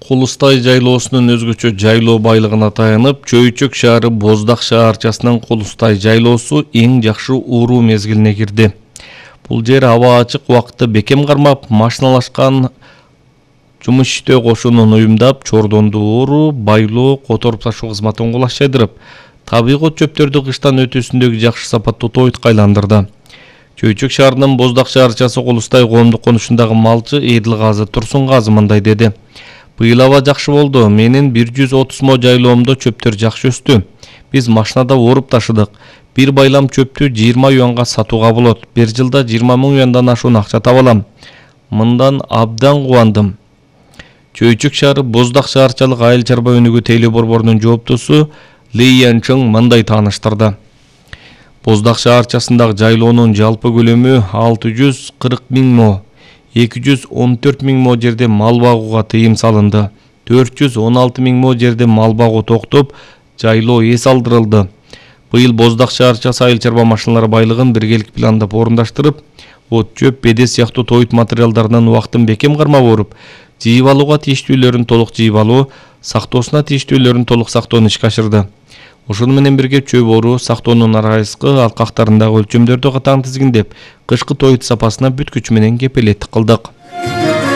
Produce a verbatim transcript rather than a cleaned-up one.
Кулустай жайлоосунун өзгөчө жайлоо байлыгына таянып, Чөйчөк шаары Боздак шаарчасынын Кулустай жайлоосу эң жакшы ууруу мезгилине кирди. Бул жер аба ачык, убакытты бекем кармап, машиналашкан жумуш иштөө кошунун уюмдап, чордонду ууруу, байлоо, которуп ташуу кызматын кулашчайдырып, табигый чөптөрдү кыштан өтүүсүндөгү жакшы сапаттуу тойтко айландырды. Чөйчөк шаарынын Боздак шаарчасы Кулустай коомдук конушундагы малчы Эдилгазы Турсунгазы мындай деди. Быйыл аба жакшы болду. Менин бир жүз отуз мо жайлоомдо чөптөр жакшы өстү. Биз машинада ооруп ташыдык. Бир байлам чөптү жыйырма юанга сатууга болот. Бир жылда жыйырма миң юандан ашуун акча таба алам. Мындан абдан кубандым. Чөйчөк шаары Боздак шаарчалык айыл чарба өнүгүү тейлөө борборунун жооптусу Ли Янчың мындай тааныштырды. Боздак шаарчасындагы жайлоонун жалпы көлөмү алты жүз кырк миң мо. эки жүз он төрт миң мо жерде мал багууга тыйым салынды. төрт жүз он алты миң мо жерде мал багуу токтоп, жайлоо эс алдырылды. Быйыл Боздак шаарчасы айыл чарба машиналары байлыгын биргелик пландап орундаштырып, от, чөп, бедес сыяктуу тоют материалдарынын убактын бекем кармап оруп, жыйып алууга тийиштүүлөрүн толук жыйып алуу, сактоосуна тийиштүүлөрүн толук сактоону ишке ашырды. Ошону менен бирге чөп оруу, сактоонун арайыскы алкактарындагы өлчөмдөрдү катаң тизгиндеп, кышкы тоют сапасына бүт күч менен кепилеттик кылдык.